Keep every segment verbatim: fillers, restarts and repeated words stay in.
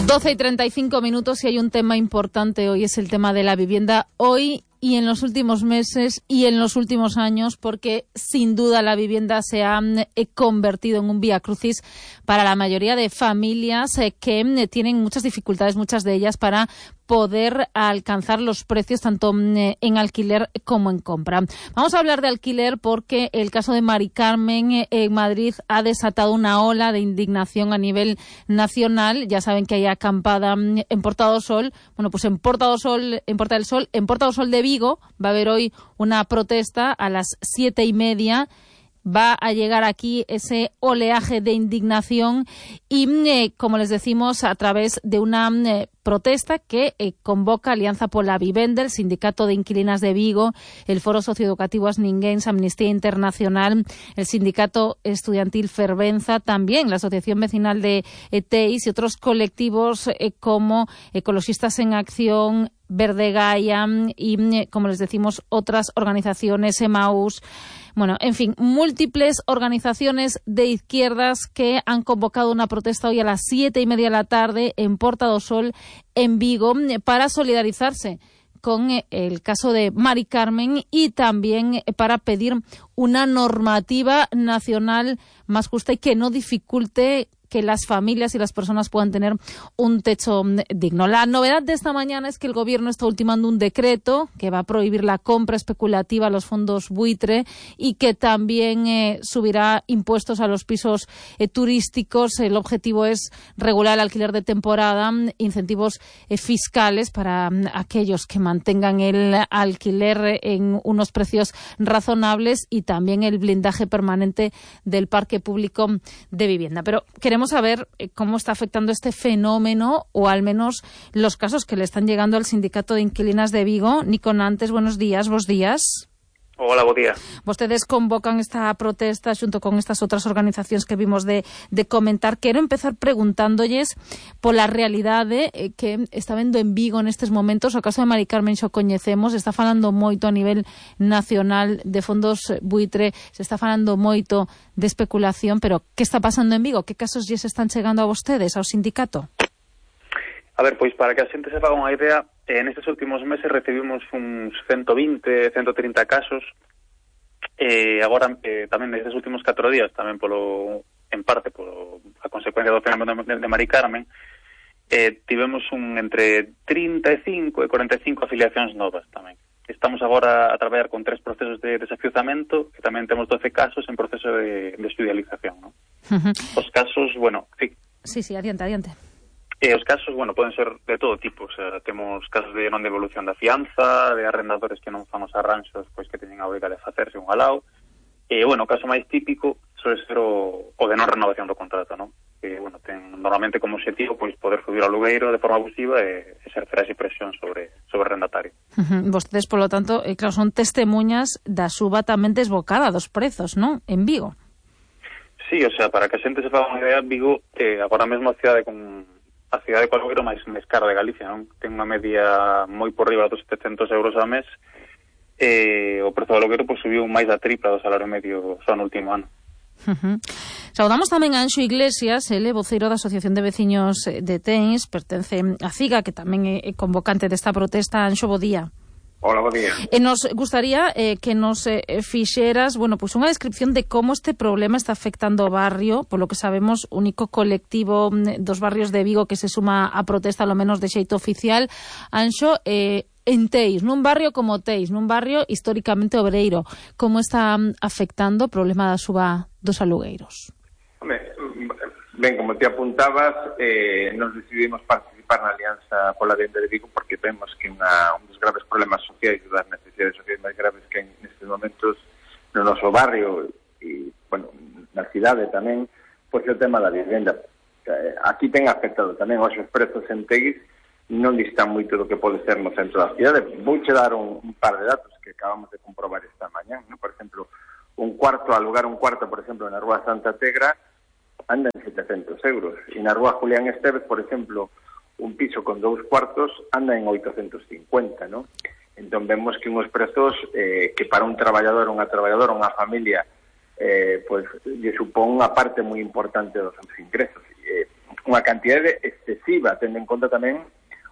doce y treinta y cinco minutos y hay un tema importante hoy, es el tema de la vivienda hoy y en los últimos meses y en los últimos años, porque sin duda la vivienda se ha eh, convertido en un vía crucis para la mayoría de familias eh, que eh, tienen muchas dificultades, muchas de ellas, para poder alcanzar los precios tanto eh, en alquiler como en compra. Vamos a hablar de alquiler porque el caso de Mari Carmen eh, en Madrid ha desatado una ola de indignación a nivel nacional. Ya saben que hay acampada en Porta do Sol. Bueno, pues en Porta do Sol, en Porta del Sol, en Porta do Sol de Vigo va a haber hoy una protesta a las siete y media. Va a llegar aquí ese oleaje de indignación y, eh, como les decimos, a través de una eh, protesta que eh, convoca Alianza pola Vivenda, el Sindicato de Inquilinas de Vigo, el Foro Socioeducativo Asninguens, Amnistía Internacional, el Sindicato Estudiantil Fervenza, también la Asociación Vecinal de E T I S y otros colectivos eh, como Ecologistas en Acción, Verde Gaia y, como les decimos, otras organizaciones, Emaús. Bueno, en fin, múltiples organizaciones de izquierdas que han convocado una protesta hoy a las siete y media de la tarde en Porta do Sol, en Vigo, para solidarizarse con el caso de Mari Carmen y también para pedir una normativa nacional más justa y que no dificulte que las familias y las personas puedan tener un techo digno. La novedad de esta mañana es que el Gobierno está ultimando un decreto que va a prohibir la compra especulativa a los fondos buitre y que también eh, subirá impuestos a los pisos eh, turísticos. El objetivo es regular el alquiler de temporada, incentivos eh, fiscales para um, aquellos que mantengan el alquiler en unos precios razonables y también el blindaje permanente del parque público de vivienda. Pero queremos Queremos saber cómo está afectando este fenómeno, o al menos los casos que le están llegando al Sindicato de Inquilinas de Vigo. Nico Nantes, buenos días, vos días. Hola, bo día. Vostedes convocan esta protesta xunto con estas outras organizacións que vimos de, de comentar. Quero empezar preguntándolles pola realidade eh, que está vendo en Vigo nestes momentos. O caso de Mari Carmen xo coñecemos, está falando moito a nivel nacional de fondos buitre, se está falando moito de especulación, pero que está pasando en Vigo? Que casos lles están chegando a vostedes, ao sindicato? A ver, pois para que a xente se faga unha idea, eh, nestes últimos meses recibimos uns ciento vinte, ciento trinta casos, e eh, agora eh, tamén nestes últimos catro días, tamén polo, en parte polo a consecuencia do fenómeno de, de Mari Carmen, eh, tivemos un entre trinta e cinco e cuarenta e cinco afiliacións novas tamén. Estamos agora a traballar con tres procesos de desafiuzamento e tamén temos doce casos en proceso de, de estudialización, ¿no? Uh-huh. Os casos, bueno... Sí, sí, sí, adiante, adiante. E os casos, bueno, poden ser de todo tipo, o sea, temos casos de non devolución da fianza, de arrendadores que non fan os arranxos, pois que teñen a obriga de facerse un alao, e, bueno, o caso máis típico suele ser o, o de non renovación do contrato, non? Que, bueno, ten normalmente como objetivo, pois, poder subir ao alugueiro de forma abusiva e exercer esa presión sobre, sobre o arrendatario. Uh-huh. Vostedes, polo tanto, eh, claro, son testemunhas da suba tamén desbocada dos prezos, non? En Vigo. Sí, o sea, para que a xente se faga unha idea, Vigo, eh, agora mesmo a cidade con... a cidade co alugueiro máis, máis cara de Galicia, non? Ten unha media moi por riba dos setecentos euros ao mes, e o prezo do alugueiro pois, subiu máis da tripla do salario medio só no último ano. Uh-huh. Saudamos tamén a Anxo Iglesias, ele voceiro da Asociación de Veciños de Tens, pertence a CIGA, que tamén é convocante desta protesta. Anxo, bo día. Hola, bo día. E nos gustaría eh, que nos eh, fixeras, bueno, pues unha descripción de como este problema está afectando o barrio, polo que sabemos, único colectivo dos barrios de Vigo que se suma a protesta, ao menos de xeito oficial. Anxo, eh, en Teis, nun barrio como Teis, nun barrio históricamente obreiro, como está afectando o problema da suba dos alugueiros? Home, ben, como te apuntabas, eh, nos decidimos participar na Alianza pola Vivenda de Vigo porque vemos que unha, un dos graves problemas sociais e das necesidades sociais máis graves que hai nestes momentos no noso barrio e, bueno, na cidade tamén, pois é o tema da vivenda. Aquí ten afectado tamén os prezos en Teis, non distan moito do que pode ser no centro da cidade. Vouche dar un, un par de datos que acabamos de comprobar esta mañá, ¿no? Por exemplo, un cuarto, alugar un cuarto, por exemplo, na Rúa Santa Tegra, anda en setecentos euros. E na Rúa Julián Esteves, por exemplo, un piso con dous cuartos anda en oitocentos cincuenta, ¿no? Entón vemos que unhos prezos eh, que para un traballador, unha traballadora, unha familia, eh, pues lle supón unha parte moi importante dos seus ingresos. Eh, unha cantidade excesiva, tendo en conta tamén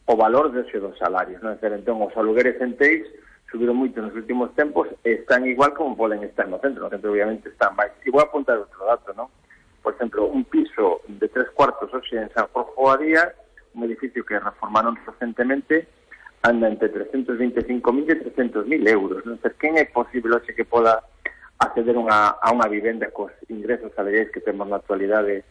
o valor dese dos salarios, non? Entón, os alugueres en Teis subiron moito nos últimos tempos e están igual como poden estar no centro. No centro, obviamente, están máis. E vou apuntar outro dato, non? Por exemplo, un piso de tres cuartos hoxe en San Jorge Boadía, un edificio que reformaron recentemente, anda entre trescientos veinticinco mil e trescientos mil euros. Non sei quen é posible hoxe que poda acceder unha, a unha vivenda cos ingresos salariais que temos na actualidade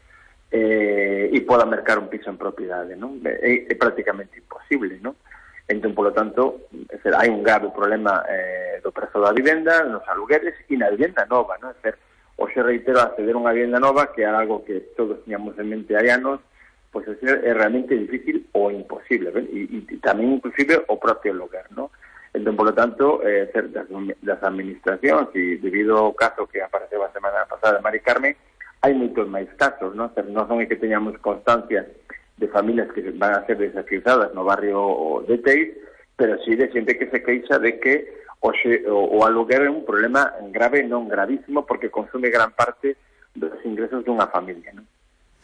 eh, e poda mercar un piso en propiedade, non? É, é prácticamente imposible, non? Entón, polo tanto, é ser, hai un grave problema eh, do prezo da vivenda, nos alugueres e na vivenda nova, non? É ser, hoxe reitero, acceder a unha vivenda nova, que é algo que todos tiñamos en mente hai anos, pois é, ser, é realmente difícil ou imposible, ¿ven? E, e tamén inclusive o propio lugar, non? Entón, polo tanto, eh, ser, das, das administracións, e debido ao caso que apareceu a semana pasada de Mari Carmen, hai moitos máis casos, non? Ser, non son é que teñamos constancia de familias que van a ser desafiuzadas no barrio de Teis, pero sí de xente que se queixa de que hoxe, o, o aluguer é un problema grave, non gravísimo, porque consume gran parte dos ingresos dunha familia, non?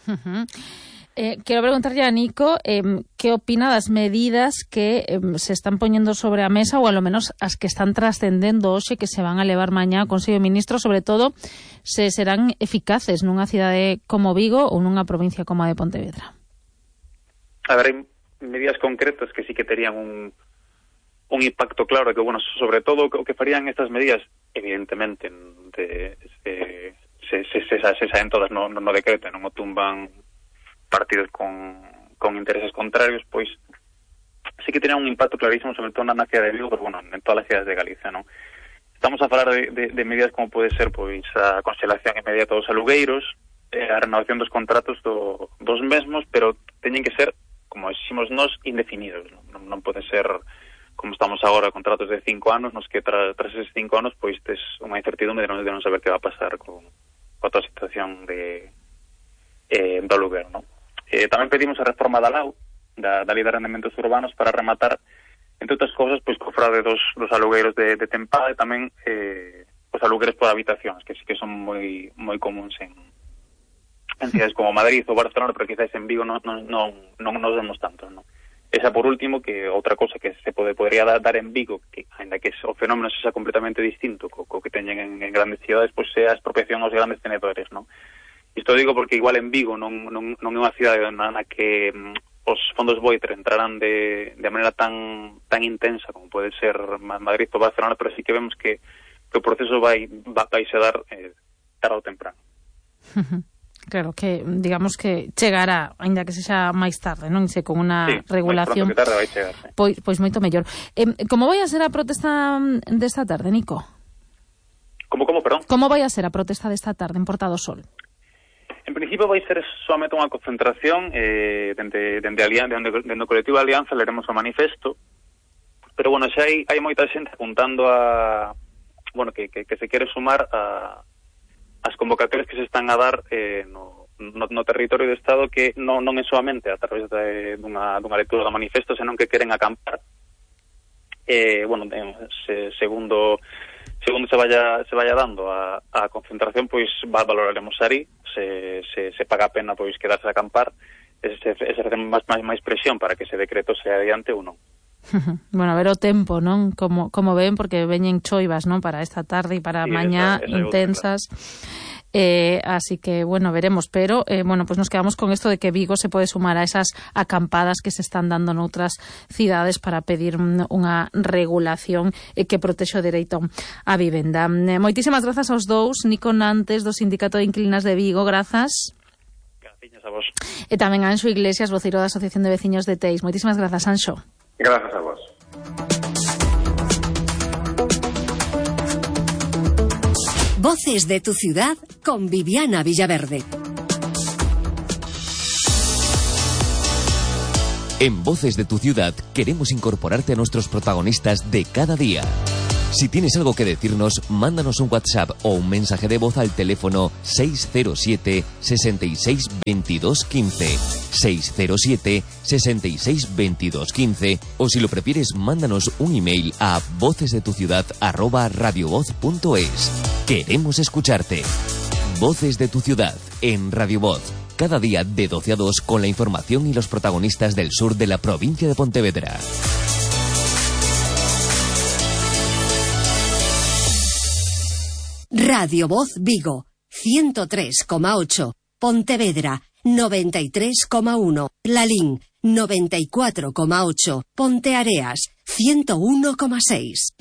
Uh-huh. Eh, quero preguntarlle a Nico eh, que opina das medidas que eh, se están poñendo sobre a mesa, ou a lo menos as que están trascendendo hoxe, que se van a levar mañá ao Consello de Ministros, sobre todo se serán eficaces nunha cidade como Vigo ou nunha provincia como a de Pontevedra. A ver, hai medidas concretas que sí que terían un, un impacto claro, que, bueno, sobre todo o que farían estas medidas, evidentemente, de, de, se, se, se, se saen todas no, no decreto, non o tumban partidos con, con intereses contrarios, pois sí que terían un impacto clarísimo, sobre todo na cidade de Vigo, pero, bueno, en todas as cidades de Galicia, non? Estamos a falar de, de, de medidas como pode ser, pois, a conxelación inmediata dos alugueiros, eh, a renovación dos contratos do, dos mesmos, pero teñen que ser, como decimos nós, indefinidos. Non, non pode ser, como estamos agora, contratos de cinco anos, nos que tra, tras eses cinco anos, pois, tes unha incertidumbre de non, de non saber que va a pasar con, con toda a situación de, eh, do aluguer, non? Eh, tamén pedimos a reforma da L A U, da, da Lei de Arrendamentos Urbanos, para rematar, entre outras cousas, pois, co fraude dos, dos alugueiros de, de tempada, e tamén eh, os alugueres por habitacións, que sí que son moi moi comuns en en cidades como Madrid ou Barcelona, pero quizás en Vigo non, non, non, non nos vemos tanto, non? Esa, por último, que outra cousa que se pode, podría dar, dar en Vigo, que ainda que o fenómeno sexa completamente distinto co, co que teñen en, en grandes cidades, pois é a expropiación aos grandes tenedores, non? Isto digo porque igual en Vigo non, non, non é unha cidade na, na que mm, os fondos Boiter entrarán de, de maneira tan tan intensa como pode ser Madrid ou Barcelona, pero sí que vemos que, que o proceso vai, vai se dar eh, tarde ou temprano. Claro, que digamos que chegará, ainda que sexa máis tarde, non? Se con unha sí, regulación, máis pronto que tarde vai chegar, sí. Pois, pois moito mellor. Eh, como vai a ser a protesta desta tarde, Nico? Como, como, perdón? Como vai a ser a protesta desta tarde en Porta do Sol? En principio vai ser solamente unha concentración eh, dende, dende, Alianza, dende, dende o colectivo Alianza, leremos o manifesto, pero, bueno, xa hai, hai moita xente apuntando a, bueno, que, que, que se quere sumar a as convocatorias que se están a dar eh, no, no, no territorio do Estado, que non, non é solamente a través de, dunha, dunha lectura do manifesto, senón que queren acampar. Eh, bueno, se, segundo segundo se vaya se vaya dando a, a concentración, pois va, valoraremos aí, se, se, se paga a pena pois quedarse a acampar, e se, se facen máis, máis, máis presión para que ese decreto sea adiante ou non. Bueno, a ver o tempo, non? Como, como ven, porque veñen choivas, non? Para esta tarde e para sí, mañá, esa, esa intensas. Eh, así que, bueno, veremos. Pero, eh, bueno, pues nos quedamos con esto de que Vigo se pode sumar a esas acampadas que se están dando noutras cidades para pedir unha regulación eh, que protexe o dereito á vivenda. Eh, moitísimas grazas aos dous. Nico Nantes, do Sindicato de Inquilinas de Vigo, grazas. Gracias a vos. E tamén a Anxo Iglesias, voceiro da Asociación de Veciños de Teis. Moitísimas grazas, Anxo. Gracias a vos. Voces de tu ciudad con Viviana Villaverde. En Voces de tu ciudad queremos incorporarte a nuestros protagonistas de cada día. Si tienes algo que decirnos, mándanos un WhatsApp o un mensaje de voz al teléfono seis cero siete, sesenta y seis, veintidós, quince, seis cero siete, sesenta y seis, veintidós, quince, o si lo prefieres, mándanos un email a vocesdetuciudad arroba radiovoz punto es. Queremos escucharte. Voces de tu ciudad en Radio Voz, cada día de doce a dos con la información y los protagonistas del sur de la provincia de Pontevedra. Radio Voz Vigo, ciento tres coma ocho. Pontevedra, noventa y tres coma uno. Lalín, noventa y cuatro coma ocho. Ponteareas, ciento uno coma seis.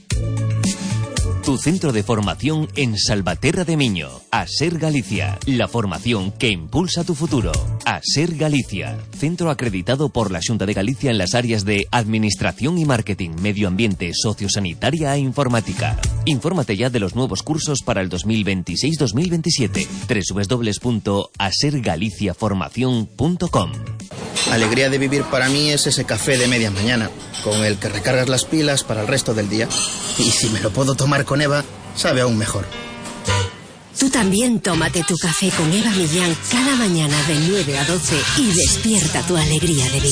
Tu centro de formación en Salvaterra de Miño. ASER Galicia. La formación que impulsa tu futuro. ASER Galicia. Centro acreditado por la Xunta de Galicia en las áreas de Administración y Marketing, Medio Ambiente, Sociosanitaria e Informática. Infórmate ya de los nuevos cursos para el dos mil veintiséis dos mil veintisiete. doble u doble u doble u punto aser galicia formación punto com. Alegría de vivir para mí es ese café de media mañana, con el que recargas las pilas para el resto del día. Y si me lo puedo tomar con Eva, sabe aún mejor. Tú también tómate tu café con Eva Millán cada mañana de nueve a doce y despierta tu alegría de vivir.